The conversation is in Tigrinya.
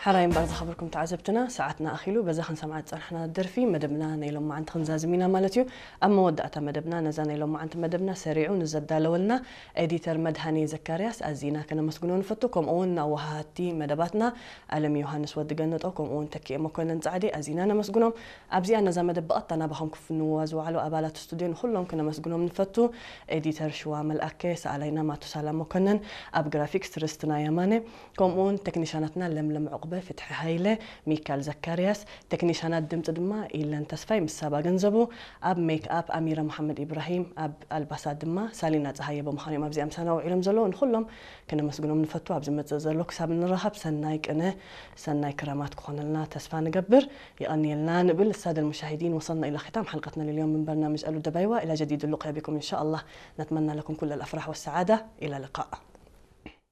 ሕራይ እምበር ዝኸበርኩም ተዓዘብትና፣ ሰዓትና ኣኺሉ። በዛ ክንሰምዓ ዝጸናሕና ደርፊ መደብና ናይ ሎማዓንቲ ክንዛዝም ኢና ማለት እዩ። ኣብ መወዳእታ መደብና ነዛ ናይ ሎማዓንቲ መደብና ሰሪዑ ንዘዳለወልና ኤዲተር መድሃኔ ዘካርያስ ኣዚና ከነመስግኖ ንፈቱ። ከምኡ እውን ንኣወሃሃድቲ መደባትና ኣለም ዮሃንስ ወዲ ገነጦ፣ ከምኡ እውን ተኪኤ መኮነን ጻዕዴ ኣዚና ነመስግኖም። ኣብዚኣ ነዛ መደብ ብቐጥታ ናባኹም ክፍንውዋ ዝወዓሉ ኣባላት ስቱድዮ ንኹሎም ክነመስግኖም ንፈቱ። ኤዲተር ሽዋ መልኣከ፣ ሰኣላይና ማቱሳላ መኮነን፣ ኣብ ግራፊክስ ትርስትና የማነ፣ ከምኡውን ቴክኒሻናትና ለምለም ዕቑበ፣ ፍትሒ ሃይለ፣ ሚካል ዘካርያስ፣ ቴክኒሻናት ድምፂ ድማ ኢለን ተስፋይ ምስ ሳባ ገንዘቡ፣ ኣብ ሜክ ኣፕ ኣሚረ መሓመድ ኢብራሂም፣ ኣብ ኣልባሳት ድማ ሳሊና ፀሃየ ብምዃኑ እዮም ኣብዚኣ ምሳና ውዒሎም ዘለዉ። ንኹሎም ክነመስግኖም ንፈቱ። ኣብ ዝመፅእ ዘሎ ክሳብ እንራኸብ ሰናይ ቅነ፣ ሰናይ ክረማት ክኾነልና ተስፋ ንገብር። የቐንየልና ንብል። السادة المشاهدين، وصلنا إلى ختام حلقتنا لليوم من برنامج ألو دبايوا. إلى جديد اللقيا بكم إن شاء الله. نتمنى لكم كل الأفراح والسعادة. إلى اللقاء.